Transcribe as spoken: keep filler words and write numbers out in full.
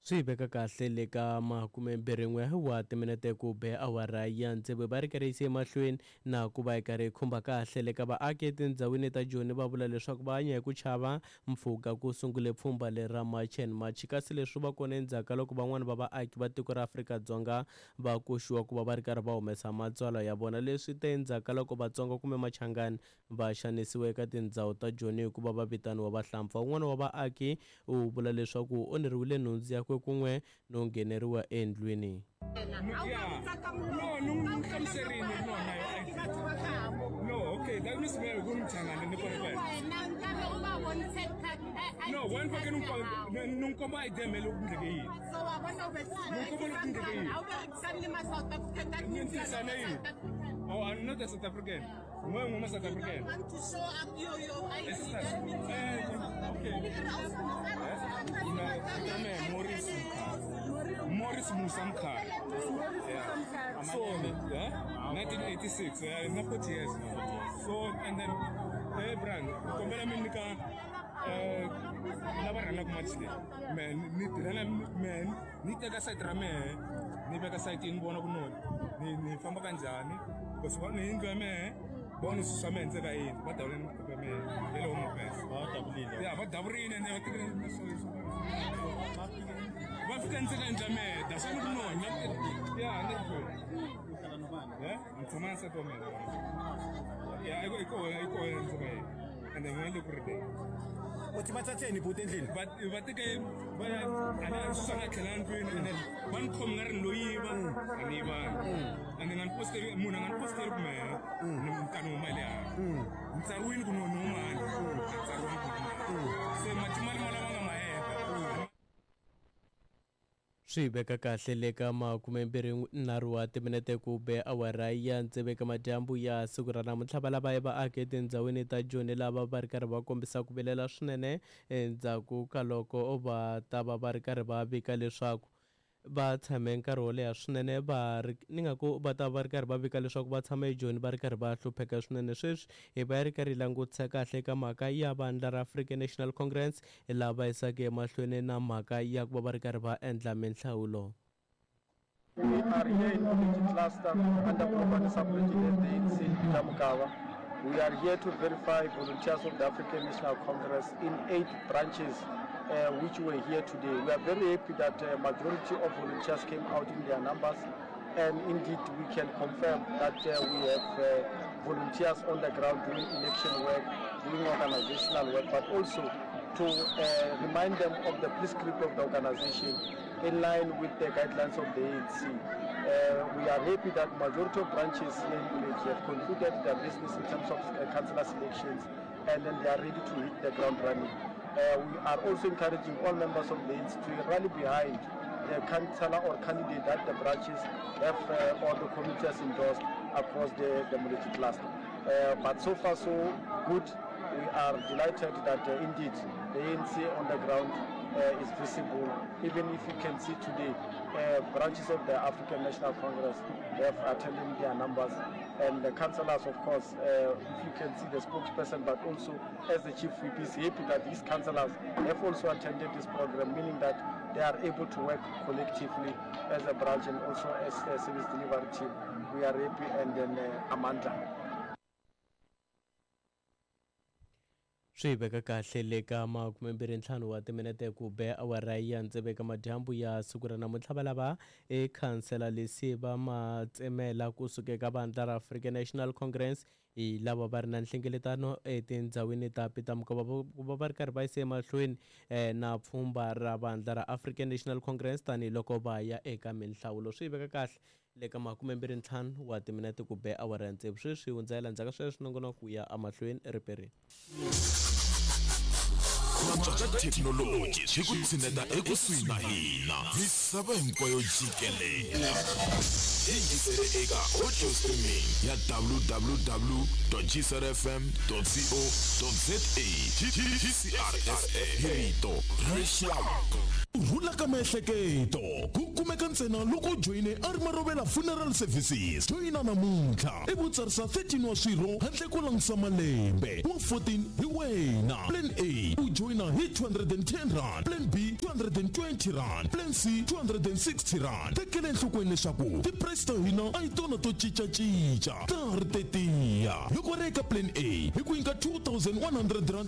Swi veka kahle le ka makumembirhin'we wa timinete ku be awara ya tsevu, va ri karhi yise emahlweni na ku va yi karhi yi khumba kahle le ka vaaki etindhawini ta Joni. Va vula leswaku va hanya hi ku chava mpfhuka ku sungule pfhumba leri ra March and March, kasi leswi va kona endzhaku ka loko van'wani va vaaki va tiko ra Afrika-Dzonga va koxiwa ku va va ri karhi va humesa matsalwa ya vona. Leswi te endzhaku ka loko Vatsonga kumbe Machangani va xanisiwa eka tindhawu ta Joni hikuva va vitaniwa vahlampfa. Un'wana wa vaaki u vula leswaku u onheriwile nhundzu yakwe kun'we no ngheneriwa endlwini. No, no, no, no, okay, that means we're going to No, one fucking no come by them. Oh, I'm not a South African. I'm South African. Want to show up your your I D. Okay. Morris Morris Musamka. Yeah. So, yeah, nineteen eighty-six. Yeah, not forty years now. So, and then, hey, Brand, compare me nika. Lava rhangaka match leyi me ni tirhela me ni teka site ra mehe ni veka site ni vona ku no ni ni famba kanjhani because va ni yindlu ya mehe va ni susa mehe ndzeka yindlu va davule ni maphepha mehe ya le home affairs va davurile ya va davurile ene va tekile va fika ndzeka yindlu ya mehe that's why ni ku no ya ni ya ni tshama na nsati wa mina ya i ko i ko i ko ndzeka yindlu and then wena le ku rileni uthi bathatheni bhuti endlini va va teke va ya a ni susa nga tlhela ndlwini and then va ni khomi nga ri ni lo yiva a ni yivanga and then nga ni posteli munhu a nga ni posteli ku mehe ni nkani huma hi le handle ni tsariwile ku no ni huma handle a tsariwanga ku ni huma se matimali ma lama nga ma heta. Swi veka kahle le ka makumembirhi nharhu wa timinete ku be awara ya tsevu eka madyambu ya siku ra namuntlha, va lava vaaki etindhawini ta Joni lava va ri karhi va kombisa ku vilela swinene endzhaku ka loko va ta va va ri karhi va vika leswaku va tshame nkarhi wo leha swinene va ri ni nga ku va ta va ri karhi va vika leswaku va tshama eJoni va ri karhi va hlupheka swinene. Sweswi hi va yi ri karhi yi langutisa kahle eka mhaka ya vandla ra African National Congress lava yisaka emahlweni na mhaka ya ku va va ri karhi va endla minhlawulo. We are here in Moletji Cluster under Polokwane Sub-Region at the A N C in Peter Mokaba. We are here to verify volunteers of the African National Congress in eight branches uh, which were here today. We are very happy that uh, majority of volunteers came out in their numbers, and indeed we can confirm that uh, we have uh, volunteers on the ground doing election work, doing organizational work, but also to uh, remind them of the prescript of the organization in line with the guidelines of the A N C. Uh, we are happy that majority of branches here in Moletji have concluded their business in terms of uh, councillor selections, and then they are ready to hit the ground running. Uh, we are also encouraging all members of the A N C to rally behind the councillor or candidate that the branches have uh, or the committee has endorsed across the, the Moletji cluster. Uh, but so far so good. We are delighted that uh, indeed the A N C on the ground uh, is visible. Even if you can see today, uh, branches of the African National Congress have attended their numbers, and the councillors, of course, uh, if you can see the spokesperson, but also as the chief whip is happy that these councillors have also attended this program, meaning that they are able to work collectively as a branch and also as a service delivery team. We are happy, and then uh, Amanda. Swi veka kahle le ka makumembirhi ntlhanu wa timinete ku be awara ya tsevu eka madyambu ya siku ra namuntlha, va lava e khansela Lesiba Matsemela kusuka eka vandla ra African National Congress hi lava va ri na nhlengeletano etindhawini ta Peter Mokaba ku va va ri karhi va yisa emahlweni na pfhumba ra vandla ra African National Congress tanihiloko va ya eka minhlawulo. Swi veka kahle le ka makumembirhi ntlhanu wa timinete ku be awara ya tsevu. Sweswi hundza hi landzaka sweswi nongonoko ku ya emahlweni riperini. Thekinoloji swi ku tshineta ekusuhi na hina misava hinkwayo jikelele. Yingisele eka audio streaming ya w w w dot g c r f m dot co dot z a. G C R F M hi rito ra rixaka. Ku rhula ka miehleketo ku kumeka ntsena loko u joyine a ri Marovela Funeral Services. Joyina namuntlha i vutsarisa thirteen wa swirho handle ko langutisa malembe wa fourteen hi wena. Plan A u joyina hi two hundred and ten rand, Plan B two hundred and twenty rand, Plan C two hundred and sixty rand. Tekela enhlokweni leswaku ti-price ta hina a hi tona to cincacinca, ta ha ri tetiya. Loko ri eka Plan A hi ku nyika two thousand one hundred rand.